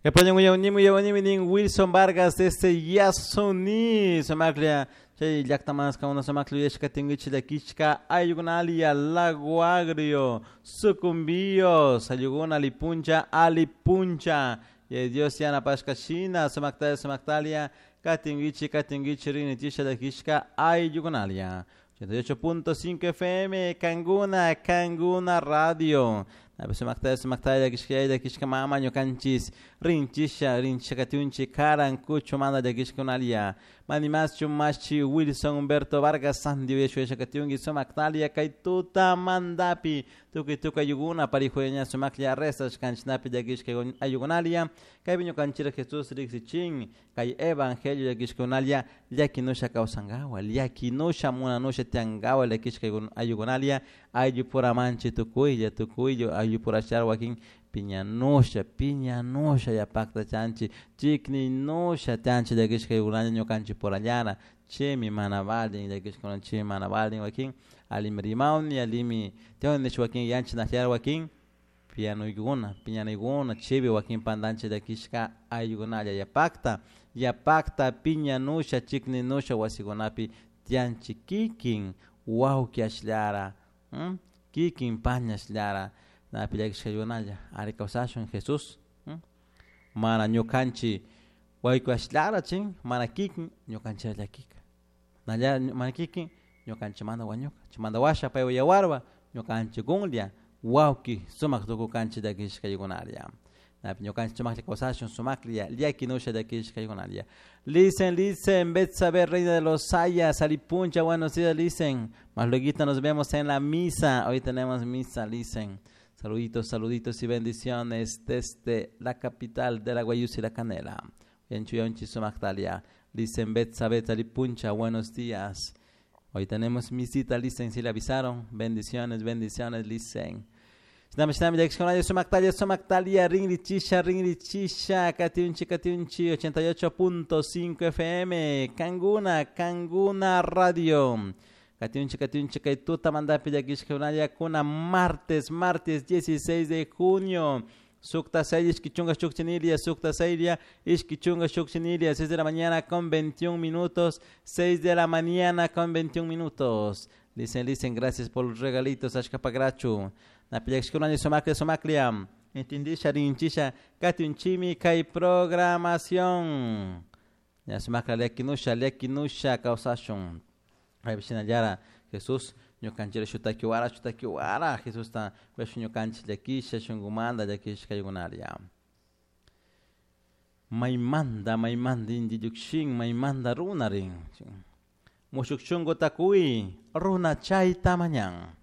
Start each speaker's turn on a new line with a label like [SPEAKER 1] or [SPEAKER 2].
[SPEAKER 1] Yapaña Wilson Vargas desde Yasuní, sumaqlla chay llaqtamasqa una sumaqlla yuyashka tinkichik llakishka ayllukunalia Lago Agrio, Sucumbíos, ayllukuna alipuncha, alipuncha. Y Dios yanapashka shina, sumaqtalla, sumaqtalia, katinkichik, katinkichik rinichisha llakishka ayllukunalia. 88.5 FM, Canguna, Canguna Radio. Sumaktalla, sumaktalla, llakishka llakishka mama ñukanchis, rinchisha, rinchisha katiunchi, karan, kuchu, manda llakishkunalia. Manimaschu, machi, Wilson, Humberto Vargas, Sandy, uyasha katiunki, sumaktalia, kay tuta mandapi, tukuy tukuy ayllukuna, parijuña sumaklla rezashkanchinapi llakishka ayllukunalia, kaypi ñukanchira Jesús riksichin, kay evangelio llakishkunalia, llakinusha kawsankawa, llakinusha munanusha tiyankawa llakishka ayllukunalia, ayllupuramanchi tukuylla, tukuylla ayllupurashar wakin piñanusha, piñanusha yapakta chanchi, chikninusha tianchi llakishka ayllukunalia ñukanchik purallara, chaymi mana valin llakishkuna, chaymi mana valin wakin allimi rimawni, allimi tiawnish wakin yanchik nahyar wakin piñanuykuna, piñanaykuna chaypi wakin pantanchik llakishka ayllukunalla yapakta, yapakta piñanusha, chikninusha wasikunapi tiyanchik kikin wawki ashllara, kikin pañashllara, napi llakishka ayllukunalla ari kawsashun Jesús, mana ñukanchik wayku ashllara chin mana kikin ñukanchik llakika, mana kikin ñukanchikmanta wañuka, chaymanta washa paywan yawarwan ñukanchik kunlla wawki sumak tukukanchik llakishka ayllukunalla. Napi ñukanchik sumaklla kawsashun sumaklla llakinusha llakishka ayllukunalla. Listen, listen, Betsabe, reina de los Sayas, Alipuncha, buenos días, listen. Más luego nos vemos en la misa. Hoy tenemos misa, listen. Saluditos, saluditos y bendiciones desde la capital de la Guayusa y la Canela. En Chuyonchi, Sumactalia. Listen, Betsabe, Alipuncha, buenos días. Hoy tenemos misita, listen, si le avisaron. Bendiciones, bendiciones, listen. Shinami, shinami, llakishkunalla, sumaktalia, sumaktalia, rinrichisha, rinrichisha, katiunchi, katiunchi, 88.5 FM, Canguna, Canguna Radio. Katiunchi, katiunchi, kay tuta mandapi llakishkunalla, kuna martes, martes 16 de junio. Sukta 6, ishki chunka shukchinilia, sukta 6, ishki chunka shukchinilia, 6 de la mañana con 21 minutos, 6 de la mañana con 21 minutos. Dicen, dicen, gracias por los regalitos, ashkapagrachu. Napillakishkunalla sumaklia, sumaklia. Entendisha, rinchisha, katiunchimi, kay programación. Ya sumakla, llakinusha, llakinusha, kawsashun. Kaypi Jesús, ñukanchik shutakiwara, shutakiwara, Jesusta, kuyashun ñukanchik llakisha, shunkumanta llakisha kaykunaria. Maymanta, maymanta inti llukshin, maymanta runa rin. Mushuk shunkuta kuy, runa chayta mañan.